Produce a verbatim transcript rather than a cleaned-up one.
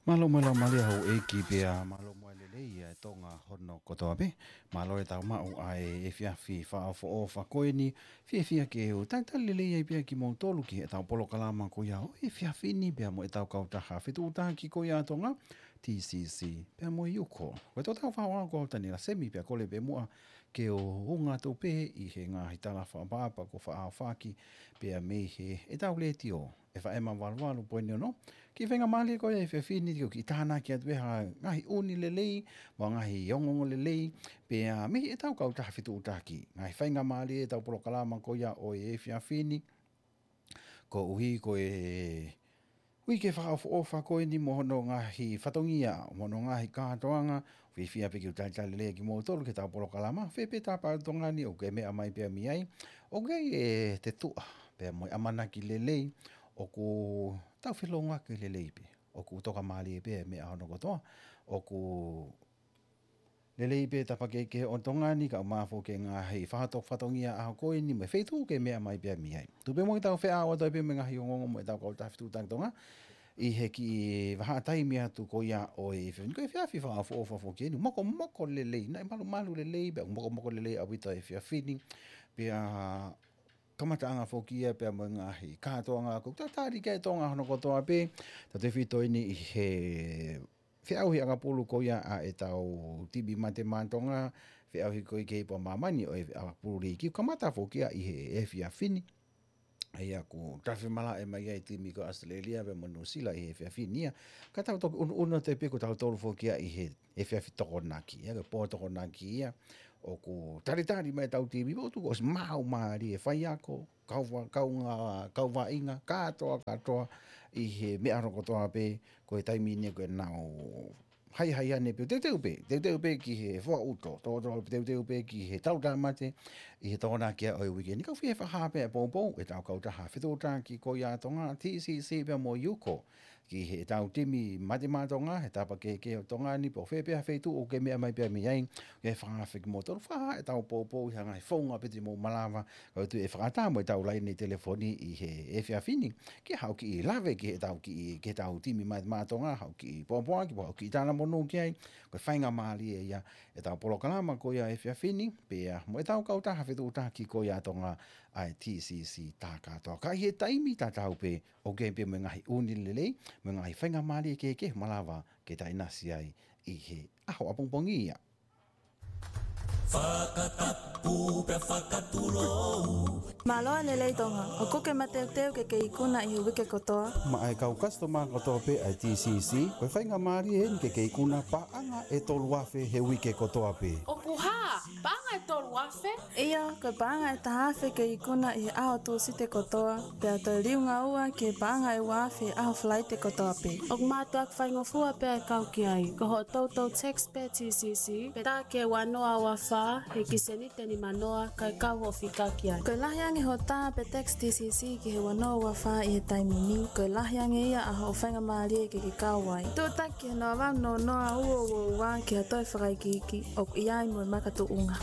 Mālō mo e laumālie houʻeiki pea mālō mo e lelei ʻa e Tonga hono kotoa pē. Mālō e tau maʻu ʻa e efiafi fakaʻofoʻofa ko eni, fiefia ke u talitali lelei ai pea kimoutolu ki heʻetau polokalama ko ia ʻo e efiafi ni pea mo ʻetau kautaha fetuʻutaki ko ia ʻa Tonga, T C C, pea mo e Yuko. Ko e tau fānau ko Taniela Semi pea kole pē muʻa ke u unga atu pē ʻi he ngaahi tala fakaʻapaʻapa kuo fakaʻaofaki pea mei heʻetau letiō, F M valu valu poini ono. Ki he faingamālie ko ia ʻo e efiafi ni ke u kiʻi tānaki atu pē ha ngaahi ʻū lelei, mo e ngaahi ongoongo lelei, pea mei heʻetau kautaha fetuʻutaki. Ngaahi faingamālie ʻetau polokalama ko ia ʻo e efiafi ni. Koeʻuhi ko e uike fakaʻofoʻofa ko eni mo hono ngaahi fatongia, mo hono ngaahi kātoanga, fiefia pē ke u talitali lelei kimoutolu ki heʻetau polokalama, fē pē tapa ʻo Tonga ni ʻoku ke meʻa mai pea mei ai, ʻoku ʻi ai e tuʻa pea mo e ʻamanaki lelei, ʻoku tau feʻiloaki lelei pē, ʻoku tokamālie pē e meʻa hono kotoa, ʻoku lelei pē tapa kehekehe ʻo Tonga ni, kae ʻumaʻā foki e ngaahi fato-, fatongia ʻaho ko eni mo e feituʻu ʻoku ke meʻa mai pea mei ai. Tuʻu pē muʻa ke tau feʻao atu ai pē mo e ngaahi ongoongo mo ʻetau kautaha fetuʻutaki ʻa Tonga ʻi he kiʻi vahaʻa taimi atu ko ia ʻo e efiafi ni. Ko e efiafi fakaʻofoʻofa foki eni, mokomoko lelei, naʻe malumalu lelei, pea mokomoko lelei ʻaupito e efiafi ni. Pea kamataʻanga foki ia pea mo e ngaahi kātoanga ʻoku talitali ki ai e Tonga hono kotoa pē, tautefito eni ʻi he feʻauhi ʻakapulu ko ia ʻa ʻetau timi mate maʻa Tonga, feʻauhi ko ia ki he ipu ʻa māmani ʻo e ʻakapulu liiki, kamata foki ia ʻi he efiafi ni. ʻA ia ʻoku tau femalā mai ai e timi ko ʻAositelēlia pea mo Nuʻusila ʻi he efiafi ni ia. Ka tau toki ʻunuʻunu atu pē ko tautolu foki ia ʻi he efiafi Tokonaki, ʻa ia ko e pō Tokonaki ia, ʻoku talitali mai ʻetau timi, ʻoku tuku ʻosi maʻu mālie e faiako, kau va-, kaungā, kau vaʻinga, kātoa, kātoa, ʻi he meʻa hono kotoa pē, ko e taimi ni ko ʻenau haihai ane pē, teuteu pē, teuteu pē ki he fua uto, to, to, teuteu pē ki he tau tāmate, ʻi he Tokonaki ia ʻo e uike ni. Kau fie fakahā pē ʻa e poupou ʻetau kautaha fetuʻutaki ko ia ʻa Tonga, T C C pea mo Yuko, ki heʻetau timi mate maʻa Tonga, he tapa kehekehe ʻo Tonga ni, pe ko fē pē ha feituʻu ʻoku ke meʻa mai pea mei ai, ke fakafeʻao kimoutolu, fakahā ʻetau poupou ʻi ha ngaahi founga pē te mou malava, kae tuku ʻe fakaʻatā mo ʻetau laine telefoni ʻi he efiafi ni, ke haʻu kiʻi lave ki heʻetau kiʻi, ki heʻetau timi mate maʻa Tonga, haʻu kiʻi pōpoaki, haʻu kiʻi talamonū ki ai, ko e faingamālie ia ʻetau polokalama ko ia ʻo e efiafi ni, pea mo ʻetau kautaha fetuʻutaki ko ia ʻa Tonga, ʻa e T C C tā kātoa. Ka ʻi he taimi tatau pē, ʻoku ʻi ai pē mo e ngaahi ʻū lelei, mo e ngaahi faingamālie kehekehe ʻoku malava ke ta ʻinasi ai ʻi he ʻaho ʻapongipongi ia. Fakatapu pea fakatulou. Mālō e lelei Tonga, ʻoku ke mateuteu ke ke ikuna ʻi he uike kotoa? Maʻa e kau customer kotoa pē ʻa e T C C, ko e faingamālie eni ke ke ikuna paʻanga ʻe tolu afe he uike kotoa pē. ʻOku hā, paʻanga ʻe tolu afe? ʻIo, ko e paʻanga ʻe taha afe ke ikuna ʻi he ʻaho Tūsite kotoa, pea toe liunga ua ki he paʻanga ʻe ua afe he ʻaho Falaite kotoa pē. ʻOku mātuʻaki faingofua pē ʻa e kau ki ai, ko hoʻo toutou text pē T C C, pe tā ki he ua noa ua fā, he kiʻi seniti ʻe nima noa, kae kau hoʻo fika ki ai. Ko e lahi ange hoʻo tā pe text T C C ki he ua noa ua fā ʻi he taimi ni, ko e lahi ange ia ʻa hoʻo faingamālie ke ke kau ai. Tuʻutaki ki he noa valu noa noa ua ua ua ki ha toe fakaikiiki, ʻoku ʻi ai mo e makatuʻunga.